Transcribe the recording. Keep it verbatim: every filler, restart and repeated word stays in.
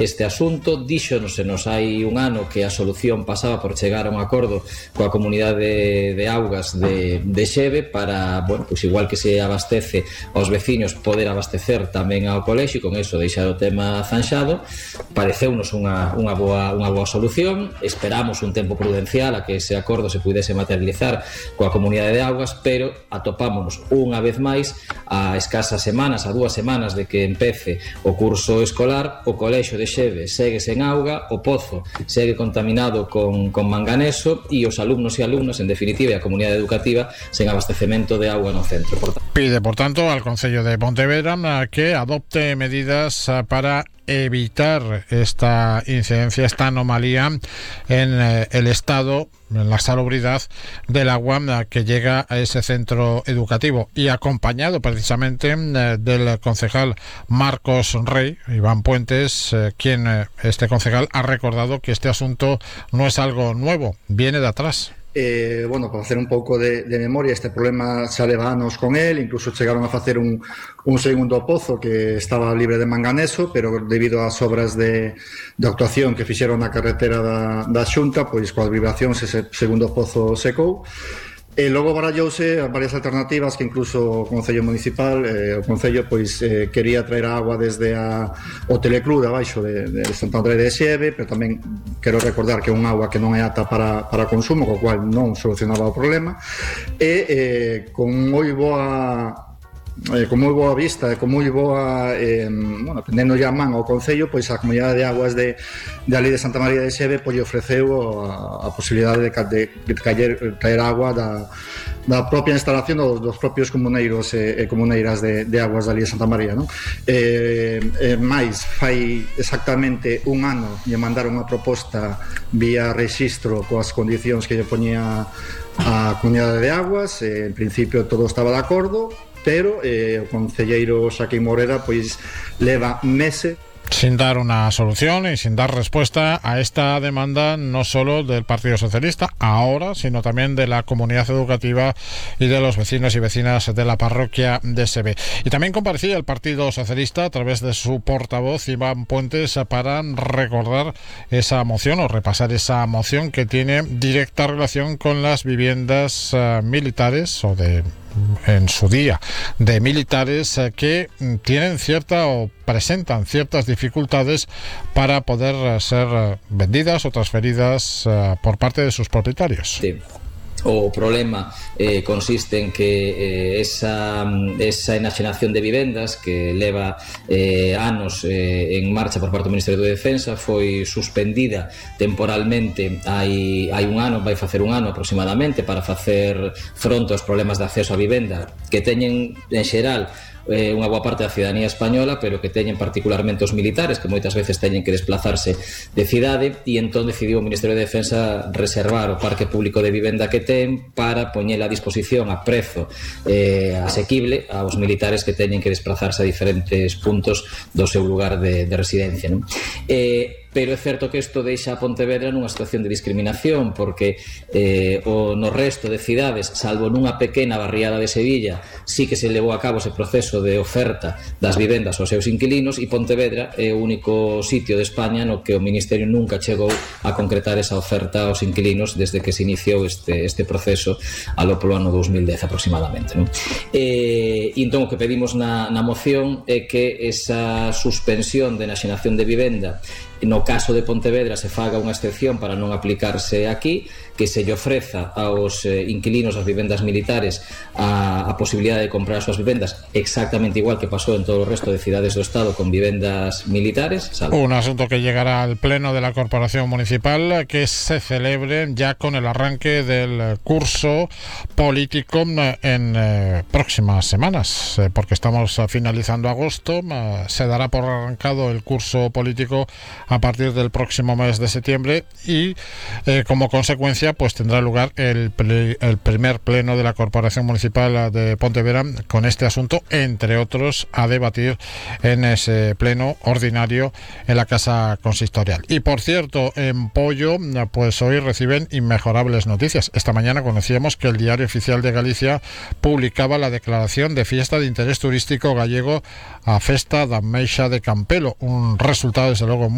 este asunto. Díxonos se nos hai un ano que a solución pasaba por chegar a un acordo coa comunidade de, de augas de, de Xeve para, bueno, pues igual que se abastece aos veciños, poder abastecer tamén ao colexio, con eso deixar o tema zanxado. Pareceunos unha, unha, boa, unha boa solución. Esperamos un tempo prudencial a que ese acordo se pudese materializar coa comunidade de augas, pero atopámonos unha vez máis a escasas semanas, a dúas semanas de que empece o curso escolar. O colexio de Xeve segue sen auga, o pozo segue contaminado con, con manganeso e os alumnos e alumnas, en definitiva, e a comunidade educativa sen abastecemento de auga no centro. Por tanto, pide, por tanto, al Concello de Pontevedra que adopte medidas para evitar esta incidencia, esta anomalía en eh, el estado, en la salubridad del agua que llega a ese centro educativo, y acompañado precisamente eh, del concejal Marcos Rey, Iván Puentes, eh, quien eh, este concejal ha recordado que este asunto no es algo nuevo, viene de atrás. Eh, bueno, para hacer un pouco de, de memoria, este problema xa leva anos con él, incluso chegaron a facer un, un segundo pozo que estaba libre de manganeso, pero debido ás obras de, de actuación que fixeron na carretera da, da Xunta, pois coas vibracións ese segundo pozo secou. E logo barallouse varias alternativas que incluso o Concello Municipal, eh, o Concello pois eh, quería traer a agua desde a, o Teleclub de abaixo de, de Santo André de Xeve, pero tamén quero recordar que é un agua que non é apta para, para consumo, co cual non solucionaba o problema, e eh, con moi boa Eh, con moi boa vista e con moi boa eh, bueno, pendendo ya man ao Concello, pois a Comunidade de Aguas de, de ali de Santa María de Xeve pois ofreceu a, a posibilidade de, de, de traer, traer agua da, da propia instalación dos, dos propios comuneiros e, e comuneiras de, de aguas de ali de Santa María, non? Eh, eh, máis, fai exactamente un ano lle mandaron unha proposta vía rexistro coas condicións que lle poñía a Comunidade de Aguas, eh, en principio todo estaba de acordo, pero eh, o concelleiro Xaquín Moreda pois leva meses sin dar una solución y sin dar respuesta a esta demanda, no solo del Partido Socialista ahora, sino también de la comunidad educativa y de los vecinos y vecinas de la parroquia de Xeve. Y también comparecía el Partido Socialista a través de su portavoz Iván Puentes para recordar esa moción o repasar esa moción que tiene directa relación con las viviendas uh, militares o de en su día de militares eh, que tienen cierta o presentan ciertas dificultades para poder eh, ser eh, vendidas o transferidas eh, por parte de sus propietarios. Sí. O problema eh, consiste en que eh, esa, esa enaxenación de vivendas que leva eh, anos eh, en marcha por parte do Ministerio de Defensa foi suspendida temporalmente hai, hai un ano, vai facer un ano aproximadamente, para facer fronte aos problemas de acceso a vivenda que teñen en xeral eh, unha boa parte da cidadanía española, pero que teñen particularmente os militares, que moitas veces teñen que desplazarse de cidade, e entón decidiu o Ministerio de Defensa reservar o parque público de vivenda que ten para poñela a disposición a prezo eh, asequible aos militares que teñen que desplazarse a diferentes puntos do seu lugar de, de residencia, non? Eh, pero é certo que isto deixa a Pontevedra nunha situación de discriminación, porque eh, o no resto de cidades, salvo nunha pequena barriada de Sevilla, sí que se levou a cabo ese proceso de oferta das vivendas aos seus inquilinos, e Pontevedra é o único sitio de España no que o Ministerio nunca chegou a concretar esa oferta aos inquilinos desde que se iniciou este, este proceso alo polo ano dous mil dez aproximadamente, non? E, e entón o que pedimos na, na moción é que esa suspensión de enaxenación de vivenda no caso de Pontevedra se faga unha excepción para non aplicarse aquí, que se lle ofreza aos eh, inquilinos das vivendas militares a, a posibilidade de comprar as súas vivendas exactamente igual que pasou en todo o resto de cidades do Estado con vivendas militares, ¿sabes? Un asunto que llegará al Pleno de la Corporación Municipal, que se celebre ya con el arranque del curso político en eh, próximas semanas, eh, porque estamos finalizando agosto, eh, se dará por arrancado el curso político a partir del próximo mes de septiembre y eh, como consecuencia pues tendrá lugar el, ple, el primer pleno de la Corporación Municipal de Pontevedra con este asunto, entre otros, a debatir en ese pleno ordinario en la Casa Consistorial. Y por cierto, en Pollo pues hoy reciben inmejorables noticias. Esta mañana conocíamos que el Diario Oficial de Galicia publicaba la declaración de fiesta de interés turístico gallego a Festa da Meixa de Campelo, un resultado desde luego muy